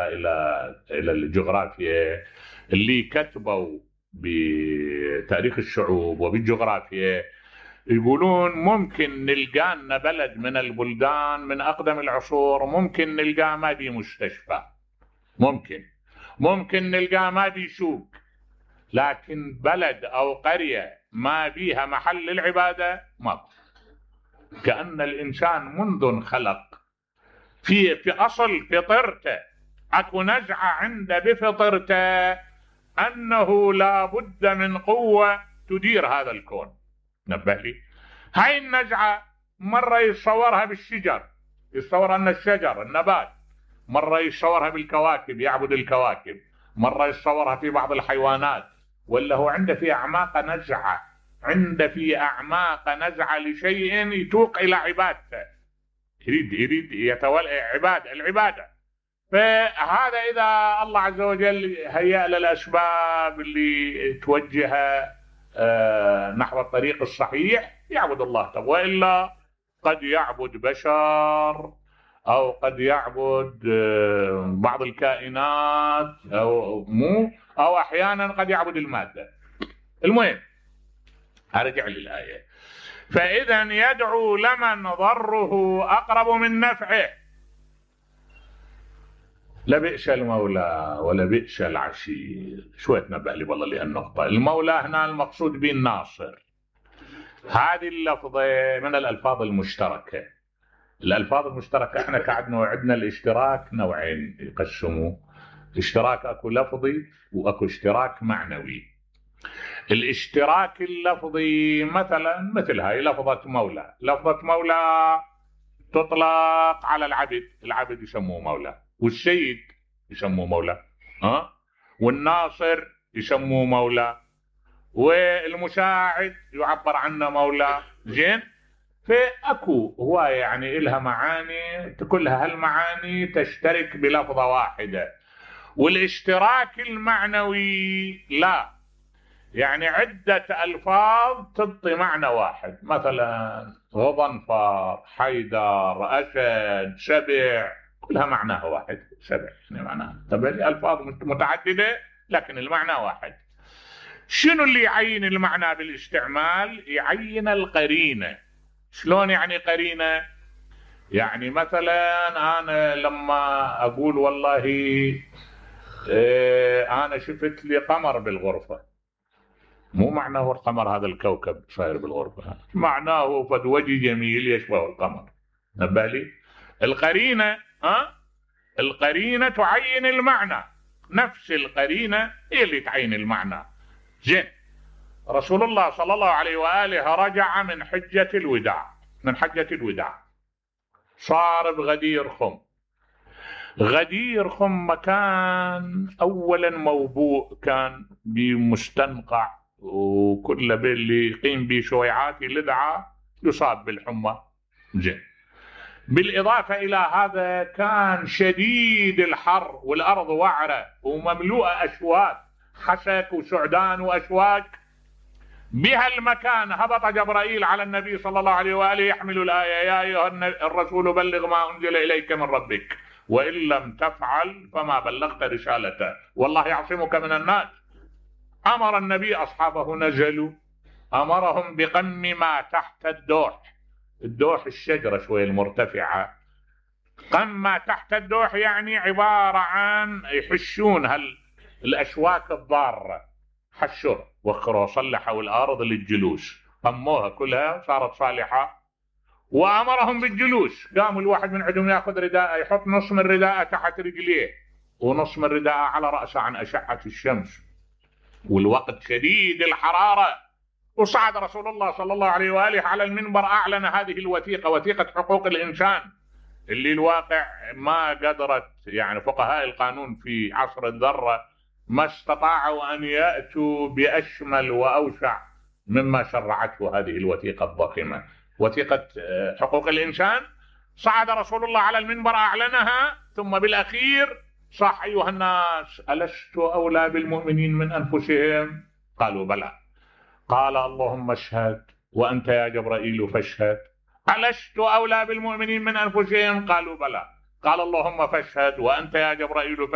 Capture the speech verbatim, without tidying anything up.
الى الى الجغرافيا اللي كتبوا بتاريخ الشعوب وبالجغرافيا يقولون ممكن نلقى لنا بلد من البلدان من اقدم العصور ممكن نلقى ما بي مستشفى، ممكن ممكن نلقى ما بي سوق، لكن بلد او قريه ما بيها محل للعباده ماكو. كأن الانسان منذ انخلق في في اصل فطرته اكو نزعه عنده بفطرته انه لا بد من قوه تدير هذا الكون. نبه لي هاي النزعه مره يتصورها بالشجر، يتصور ان الشجر النبات، مره يتصورها بالكواكب يعبد الكواكب، مره يتصورها في بعض الحيوانات، ولا هو عنده في اعماق نزعه، عنده في اعماق نزعه لشيء يتوق الى عبادته، يريد يريد يتولى عباده العباده. فهذا اذا الله عز وجل هيأ له الاسباب اللي توجهه نحو الطريق الصحيح يعبد الله، والا قد يعبد بشر او قد يعبد بعض الكائنات او مو او احيانا قد يعبد الماده. المهم ارجع للايه. فاذا يدعو لمن ضره اقرب من نفعه لبئس المولى ولبئس العشير. شوية نبه لي والله لهالنقطة. المولى هنا المقصود به الناصر. هذه اللفظة من الألفاظ المشتركة. الألفاظ المشتركة احنا كعدنا وعدنا الاشتراك نوعين يقسموا، اشتراك اكو لفظي واكو اشتراك معنوي. الاشتراك اللفظي مثلا مثل هاي لفظة مولى، لفظة مولى تطلق على العبد، العبد يسموه مولى، والسيد يسموه مولى، ها، والناصر يسموه مولى، والمساعد يعبر عنه مولى. زين، فاكو هوايه يعني لها معاني كلها هالمعاني تشترك بلفظه واحده. والاشتراك المعنوي لا، يعني عده الفاظ تعطي معنى واحد، مثلا غضنفر، حيدر، اسد، سبع، كلها معناها واحد. سبع يعني معناها طبعا الفاظ متعدده لكن المعنى واحد. شنو اللي يعين المعنى بالاستعمال؟ يعين القرينه. شلون يعني قرينه؟ يعني مثلا انا لما اقول والله اه انا شفت لي قمر بالغرفه، مو معناه القمر هذا الكوكب صاير بالغرفه، معناه فد وجه جميل يشبه القمر. نبه لي القرينه، ها، القرينه تعين المعنى، نفس القرينه هي اللي تعين المعنى. زين، رسول الله صلى الله عليه واله رجع من حجه الوداع، من حجه الوداع صار بغدير خم. غدير خم مكان اولا موبوء كان بمستنقع، وكل باللي يقيم به شويعات لدعه يصاب بالحمى. زين، بالاضافه الى هذا كان شديد الحر والارض وعره ومملوءه اشواك، حسك وسعدان واشواك. بها المكان هبط جبرائيل على النبي صلى الله عليه واله يحمل الايه: يا ايها الرسول بلغ ما انزل اليك من ربك وان لم تفعل فما بلغت رسالته والله يعصمك من الناس. امر النبي اصحابه نزلوا، امرهم بقم ما تحت الدوح. الدوح الشجره شويه المرتفعه، قم ما تحت الدوح يعني عباره عن يحشون هال الاشواك الضاره، حشوا وخروا صلحوا الارض للجلوس، قموها كلها صارت صالحه. وامرهم بالجلوس، قاموا الواحد من عندهم ياخذ رداءه يحط نص من رداءه تحت رجليه ونص من رداءه على راسه عن اشعه الشمس، والوقت شديد الحراره. وصعد رسول الله صلى الله عليه واله على المنبر، اعلن هذه الوثيقه، وثيقه حقوق الانسان اللي الواقع ما قدرت يعني فقهاء القانون في عصر الذره ما استطاعوا ان ياتوا باشمل واوسع مما شرعته هذه الوثيقه الضخمه، وثيقه حقوق الانسان. صعد رسول الله على المنبر اعلنها، ثم بالاخير صح: ايها الناس الست اولى بالمؤمنين من انفسهم؟ قالوا بلى. قال: اللهم اشهد وانت يا جبرائيل فاشهد. الست اولى بالمؤمنين من انفسهم؟ قالوا بلى. قال اللهم فاشهد وأنت يا جبرائيل